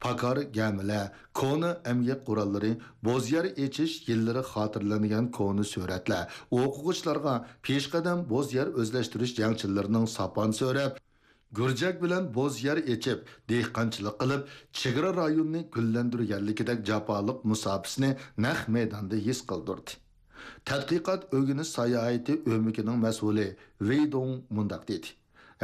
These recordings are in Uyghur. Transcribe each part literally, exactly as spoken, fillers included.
پاكار گەمىلەر، كونا ئەمگەك قوراللىرى، بوز يەر ئېچىش يىللىرى خاتىرىلەنگەن كونا سۈرەتلەر، ئوقۇغۇچىلارغا پېشقەدەم بوز يەر ئۆزلەشتۈرۈش جەڭچىلىرىنىڭ ساپان سۆرەپ، گۈرجەك بىلەن بوز يەر ئېچىپ، دېھقانچىلىق قىلىپ، چېگرا رايونىنى گۈللەندۈرگەنلىكىدەك جاپالىق مۇساپىسىنى نەق مەيداندا ھېس قىلدۇردى. تەتقىقات ئۆگىنىش ساياھىتى ئۆمىكىنىڭ مەسئۇلى ۋېي دۇڭ مۇنداق دېدى: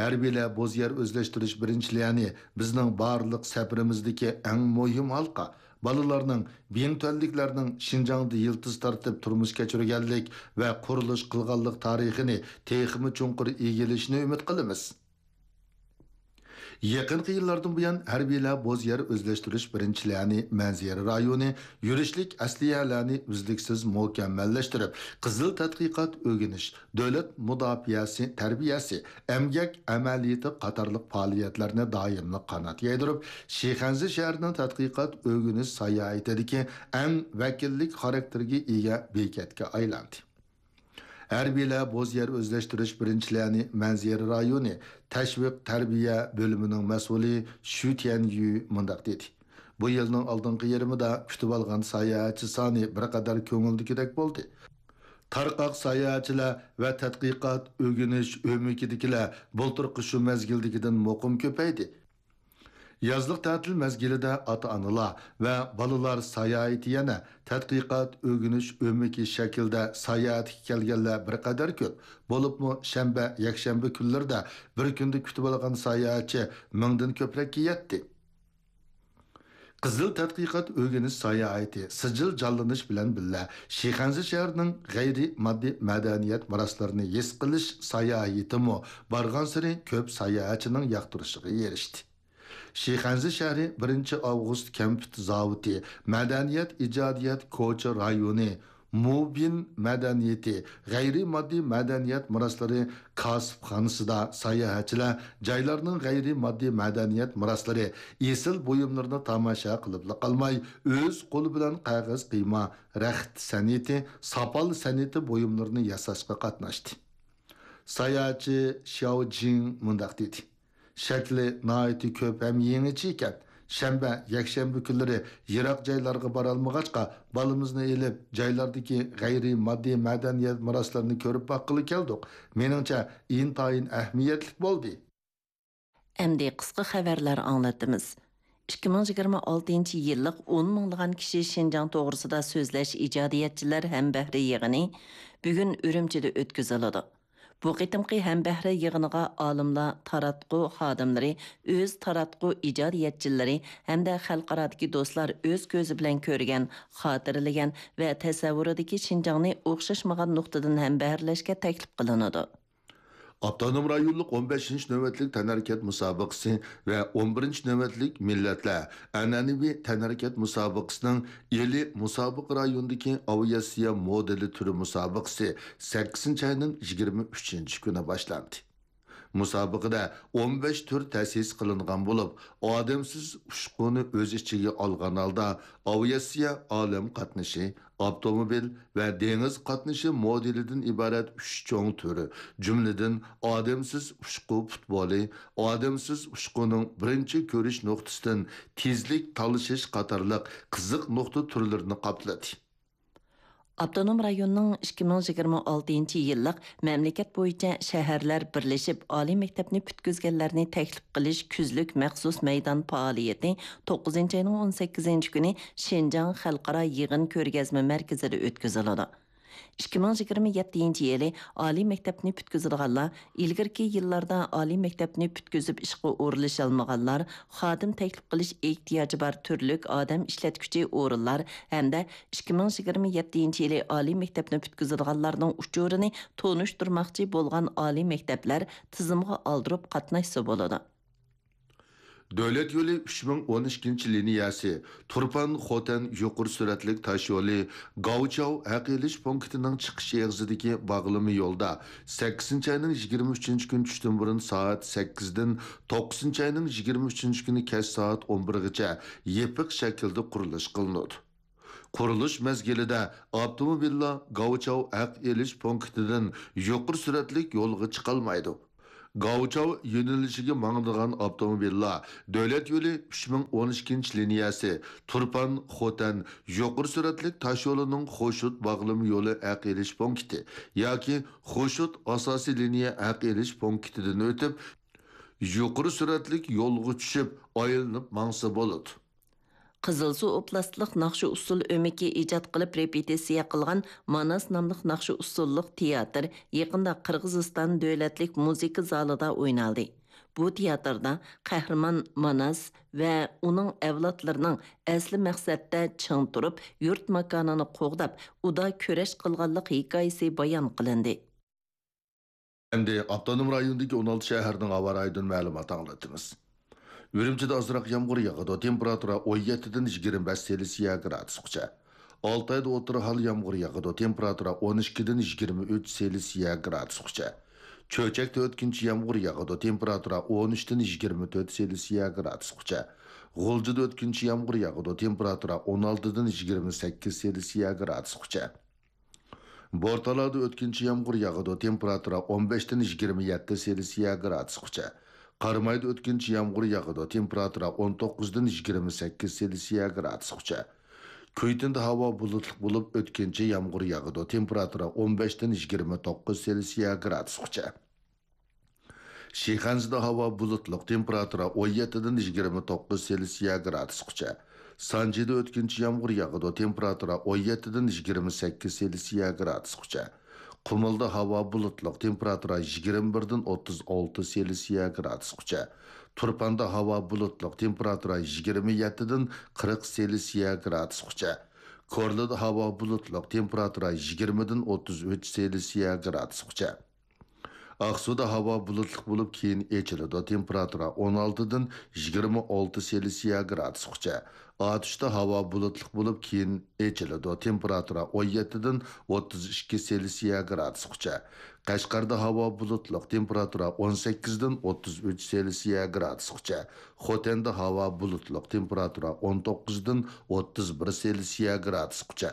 ھەربىيلەر بوز يەر ئۆزلەشتۈرۈش بىرىنچىلىرىنى بىزنىڭ بارلىق سەپىرىمىزدىكى ئەڭ مۇھىم ھالقا. بالىلارنىڭ، بىڭتۈەنلىكلەرنىڭ شىنجاڭدا يىلتىز تارتىپ تۇرمۇش كەچۈرگەنلىك ۋە قۇرۇلۇش قىلغانلىق تارىخىنى تېخىمۇ چوڭقۇر ئىگىلىشىنى ئۈمىد قىلىمىز. يېقىنقى يىللاردىن بۇيان، ھەربىيلەر بوز يەر ئۆزلەشتۈرۈش بىرىنچىلىرىنى مەنزىرە رايونى، يۈرۈشلۈك ئەسلىھەلەرنى ئۈزلۈكسىز مۇكەممەللەشتۈرۈپ، قىزىل تەتقىقات ئۆگىنىش، دۆلەت مۇداپىئەسى تەربىيەسى، ئەمگەك ئەمەلىيىتى قاتارلىق پائالىيەتلەرنى دائىملىق قانات يايدۇرۇپ، شىخەنزە شەھىرىنىڭ تەتقىقات ئۆگىنىش ساياھىتىدىكى ئەڭ ۋەكىللىك خاراكتېرگە ئىگە بېكەتكە ئايلاندى. ھەربىيلەر بوز يەر ئۆزلەشتۈرۈش بىرىنچىلىرىنى مەنزىرە رايونى تەشۋىق تەربىيە بۆلۈمىنىڭ مەسئۇلى شۈ تيەنيۈ مۇنداق دېدى: بۇ يىلنىڭ ئالدىنقى يېرىمىدا كۈتۈۋالغان ساياھەتچى سانى بىر قەدەر كۆڭۈلدىكىدەك بولدى. تارقاق ساياھەتچىلەر ۋە تەتقىقات، ئۆگىنىش ئۆمىكىدىكىلەر بۇلتۇرقى شۇ مەزگىلدىكىدىن مۇقىم كۆپەيدى. يازلىق تەتىل مەزگىلىدە ئاتا-ئانىلار ۋە بالىلار ساياھىتى يەنە تەتقىقات، ئۆگىنىش ئۆمىكى شەكلىدە ساياھەتكە كەلگەنلەر بىر قەدەر كۆپ. بولۇپمۇ شەنبە، يەكشەنبە كۈنلىرىدە بىر كۈندە كۈتۈۋالغان ساياھەتچى مىڭدىن كۆپرەككە يەتتى. قىزىل تەتقىقات ئۆگىنىش ساياھىتى سىجىل جانلىنىش بىلەن بىللە، شىخەنزە شەھىرىنىڭ غەيرىي ماددىي مەدەنىيەت مىراسلىرىنى ھېس قىلىش ساياھىتىمۇ بارغانسېرى كۆپ ساياھەتچىنىڭ ياقتۇرۇشىغا ئېرىشتى. شىخەنزە شەھىرى بىرىنچى ئاۋغۇست كەمپۈت زاۋۇتى، مەدەنىيەت ئىجادىيەت كوچا رايونى، مۇبىن مەدەنىيىتى، غەيرىي ماددىي مەدەنىيەت مىراسلىرى كاسىپخانىسىدا ساياھەتچىلەر جايلارنىڭ غەيرىي ماددىي مەدەنىيەت مىراسلىرى، ئېسىل بۇيۇملىرىنى تاماشا قىلىپلا قالماي، ئۆز قولى بىلەن قەغەز قىيما، رەخت سەنئىتى، ساپال سەنئىتى بۇيۇملىرىنى ياساشقا قاتناشتى. ساياھەتچى شياۋ جىڭ مۇنداق دېدى: شەكلى ناھايىتى كۆپ ھەم يېڭىچە ئىكەن. شەنبە، يەكشەنبە كۈنلىرى يىراق جايلارغا بارالمىغاچقا، بالىمىزنى ئېلىپ، جايلاردىكى غەيرىي ماددىي مەدەنىيەت مىراسلىرىنى كۆرۈپ باققىلى كەلدۇق. مېنىڭچە، ئىنتايىن ئەھمىيەتلىك بولدى. ئەمدى قىسقا خەۋەرلەر ئاڭلىتىمىز. ئىككى مىڭ يىگىرمە ئالتىنچى يىللىق ئون مىڭلىغان كىشى شىنجاڭ توغرىسىدا سۆزلەش ئىجادىيەتچىلەر ھەمبەھرە يىغىنى بۈگۈن ئۈرۈمچىدە ئۆتكۈزۈلىدۇ. بۇ قېتىمقى ھەمبەھرە يىغىنىغا ئالىملار، تاراتقۇ خادىملىرى، ئۆز تاراتقۇ ئىجادىيەتچىلىرى ھەمدە خەلقئارادىكى دوستلار ئۆز كۆزى بىلەن كۆرگەن، خاتىرىلىگەن ۋە تەسەۋۋۇرىدىكى شىنجاڭنى ئوخشاشمىغان نۇقتىدىن ھەمبەھىرلەشكە تەكلىپ قىلىنىدۇ. ئاپتونوم رايونلۇق ئون بەشىنچى نۆۋەتلىك تەنھەرىكەت مۇسابىقىسى ۋە ئون بىرىنچى نۆۋەتلىك مىللەتلەر ئەنئەنىۋى تەنھەرىكەت مۇسابىقىسىنىڭ ئىلى مۇسابىقە رايونىدىكى ئاۋىئاتسىيە مودېلى تۈرى مۇسابىقىسى سەككىزىنچى ئاينىڭ يىگىرمە ئۈچىنچى كۈنى باشلاندى. مۇسابىقىدە ئون بەش تۈر تەسىس قىلىنغان بولۇپ، ئادەمسىز ئۇچقۇنى ئۆز ئىچىگە ئالغان ھالدا ئاۋىئاتسىيە ئالەم قاتنىشى، ئاپتوموبىل ۋە دېڭىز قاتنىشى مودېلىدىن ئىبارەت ئۈچ چوڭ تۈر، جۈملىدىن ئادەمسىز ئۇچقۇ پۇتبولى، ئادەمسىز ئۇچقۇنىڭ بىرىنچى كۆرۈش نۇقتىسىدىن تېزلىك تالىشىش قاتارلىق قىزىق نۇقتا تۈرلىرىنى قاپلىدى. ئاپتونوم رايوننىڭ ئىككى مىڭ يىگىرمە ئالتىنچى يىللىق مەملىكەت بويىچە شەھەرلەر بىرلىشىپ ئالىي مەكتەپنى پۈتكۈزگەنلەرنى تەكلىپ قىلىش كۈزلۈك مەخسۇس مەيدان پائالىيىتى توققۇزىنچى ئاينىڭ ئون سەككىزىنچى كۈنى شىنجاڭ خەلقئارا يىغىن كۆرگەزمە مەركىزىدە ئۆتكۈزۈلىدۇ. ئىككى مىڭ يىگىرمە يەتتىنچى يىلى ئالىي مەكتەپنى پۈتكۈزىدىغانلار ئىلگىرىكى يىللاردا ئالىي مەكتەپنى پۈتكۈزۈپ ئىشقا ئورۇنلىشالمىغانلار، خادىم تەكلىپ قىلىش ئېھتىياجى بار تۈرلۈك ئادەم ئىشلەتكۈچى ئورۇنلار ھەمدە ئىككى مىڭ يىگىرمە يەتتىنچى يىلى ئالىي مەكتەپنى پۈتكۈزىدىغانلارنىڭ ئۇچۇرىنى تونۇشتۇرماقچى بولغان ئالىي مەكتەپلەر تىزىمغا ئالدۇرۇپ قاتناشسا بولىدۇ. دۆلەت يولى ئۈچ مىڭ ئون ئىككىنچى لىنىيەسى، تۇرپان خوتەن يۇقىرى سۈرئەتلىك تاش يولى، گاۋچاۋ ھەق ئېلىش پونكىتىنىڭ چىقىش ئېغىزىدىكى باغلىما يولدا سەككىزىنچى ئاينىڭ يىگىرمە ئۈچىنچى كۈنى چۈشتىن بۇرۇن سائەت سەككىزدىن توققۇزىنچى ئاينىڭ يىگىرمە ئۈچىنچى كۈنى كەچ سائەت ئون بىرگىچە يېپىق شەكىلدە قۇرۇلۇش قىلىنىدۇ. قۇرۇلۇش مەزگىلىدە ئاپتوموبىللار گاۋچاۋ ھەق ئېلىش پونكىتىدىن يۇقىرى سۈرئەتلىك يولغا چىقالمايدۇ. گاۋچاۋ يۆنىلىشىگە ماڭىدىغان ئاپتوموبىللار دۆلەت يولى ئۈچ مىڭ ئون ئىككىنچى لىنىيەسى، تۇرپان، خوتەن يۇقىرى سۈرئەتلىك تاشيولىنىڭ خوشۇت باغلىما يولى ھەق ئېلىش پونكىتى ياكى خوشۇت ئاساسىي لىنىيە ھەق ئېلىش پونكىتىدىن ئۆتۈپ، يۇقىرى سۈرئەتلىك يولغا چۈشۈپ، ئايلىنىپ ماڭسا بولىدۇ. قىزىلسۇ ئوبلاستلىق ناخشا-ئۇسسۇل ئۆمىكى ئىجاد قىلىپ رېپېتىتسىيە قىلغان ماناس ناملىق ناخشا-ئۇسسۇللۇق تىياتىر يېقىندا قىرغىزىستان دۆلەتلىك مۇزىكا زالىدا ئوينالدى. بۇ تىياتىردا قەھرىمان ماناس ۋە ئۇنىڭ ئەۋلادلىرىنىڭ ئەسلى مەقسەتتە چىڭ تۇرۇپ، يۇرت ماكانىنى قوغداپ، ئۇدا كۈرەش قىلغانلىق ھېكايىسى بايان قىلىندى. ئەمدى ئاپتونوم رايوندىكى ئون ئالتە شەھەرنىڭ ھاۋا رايىدىن مەلۇمات ئاڭلىتىمىز. ئۈرۈمچىدە ئازراق يامغۇر ياغىدۇ، تېمپېراتۇرا ئون يەتتىدىن يىگىرمە بەش سېلسىيە گرادۇسقىچە. ئالتايدا ئوتتۇرا ھال يامغۇر ياغىدۇ، تېمپېراتۇرا ئون ئىككىدىن يىگىرمە ئۈچ سېلسىيە گرادۇسقىچە. چۆچەكتە ئۆتكۈنچى يامغۇر ياغىدۇ، تېمپېراتۇرا ئون ئۈچتىن يىگىرمە تۆت سېلسىيە گرادۇسقىچە. غۇلجىدا ئۆتكۈنچى يامغۇر ياغىدۇ، تېمپېراتۇرا ئون ئالتىدىن يىگىرمە سەككىز سېلسىيە گرادۇسقىچە. بورتالادا ئۆتكۈنچى يامغۇر ياغىدۇ، تېمپېراتۇرا ئون بەشتىن يىگىرمە يەتتە سېلسىيە گرادۇسقىچە. قارامايدا ئۆتكۈنچى يامغۇر ياغىدۇ، تېمپېراتۇرا ئون توققۇزدىن يىگىرمە سەككىز سېلسىيە گرادۇسقىچە. كۈيتىندە ھاۋا بۇلۇتلۇق بولۇپ، ئۆتكۈنچى يامغۇر ياغىدۇ، تېمپېراتۇرا ئون بەشتىن يىگىرمە توققۇز سېلسىيە گرادۇسقىچە. شىخەنزىدە ھاۋا بۇلۇتلۇق، تېمپېراتۇرا ئون يەتتىدىن يىگىرمە توققۇز سېلسىيە گرادۇسقىچە. سانجىدا ئۆتكۈنچى يامغۇر ياغىدۇ، تېمپېراتۇرا ئون يەتتىدىن يىگىرمە سەككىز سېلسىيە گرادۇسقىچە. قۇمۇلدا ھاۋا بۇلۇتلۇق، تېمپېراتۇرا يىگىرمە بىردىن ئوتتۇز ئالتە سېلسىيە گرادۇسقىچە. تۇرپاندا ھاۋا بۇلۇتلۇق، تېمپېراتۇرا يىگىرمە يەتتىدىن قىرىق سېلسىيە گرادۇسقىچە. كورلىدا ھاۋا بۇلۇتلۇق، تېمپېراتۇرا يىگىرمىدىن ئوتتۇز ئۈچ سېلسىيە گرادۇسقىچە. ئاقسۇدا ھاۋا بۇلۇتلۇق بولۇپ، كېيىن ئېچىلىدۇ، تېمپېراتۇرا ئون ئالتىدىن يىگىرمە ئالتە سېلسىيە گرادۇسقىچە. ئاتۇشتا ھاۋا بۇلۇتلۇق بولۇپ، كېيىن ئېچىلىدۇ، تېمپېراتۇرا ئون يەتتىدىن ئوتتۇز ئىككى سېلسىيە گرادۇسقىچە. قەشقەردە ھاۋا بۇلۇتلۇق، تېمپېراتۇرا ئون سەككىزدىن ئوتتۇز ئۈچ سېلسىيە گرادۇسقىچە. خوتەندە ھاۋا بۇلۇتلۇق، تېمپېراتۇرا ئون توققۇزدىن ئوتتۇز بىر سېلسىيە گرادۇسقىچە.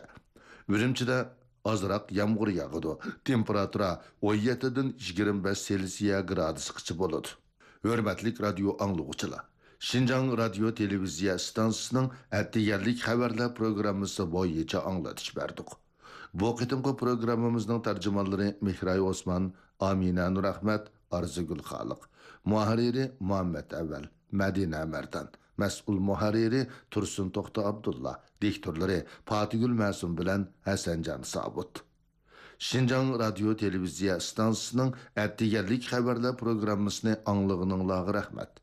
ئۈرۈمچىدە ئازراق يامغۇر ياغىدۇ. تېمپېراتۇرا ئون يەتتىدىن يىگىرمە بەش سېلسىيە گرادۇسقىچە بولىدۇ. ھۆرمەتلىك رادىيو ئاڭلىغۇچىلار، شىنجاڭ رادىيو تېلېۋىزىيە ئىستانسىسىنىڭ ئەتىگەنلىك خەۋەرلەر پروگراممىسى بويىچە ئاڭلىتىش بەردۇق. بۇ قېتىمقى پروگراممىمىزنىڭ تەرجىمانلىرى مېھراي ئوسمان، ئامىنە نۇرئەخمەت، ئارزۇگۈل خالىق. مۇھەررىرى مۇھەممەت ئەۋەل، مەدىنە مەردان. مەسئۇل مۇھەررىرى تۇرسۇن توختى ئابدۇللا، دىكتورلىرى پاتىگۈل مەسۇم بىلەن ھەسەنجان سابىت. شىنجاڭ رادىيو تېلېۋىزىيە ئىستانسىسىنىڭ ئەتىگەنلىك خەۋەرلەر پروگراممىسىنى ئاڭلىغىنىڭلارغا رەھمەت.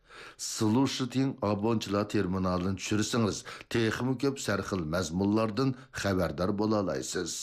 سلۇشىتىڭ ئابونچىلار تېرمىنالىنى چۈشۈرسىڭىز، تېخىمۇ كۆپ سەرخىل مەزمۇنلاردىن خەۋەردار بولالايسىز.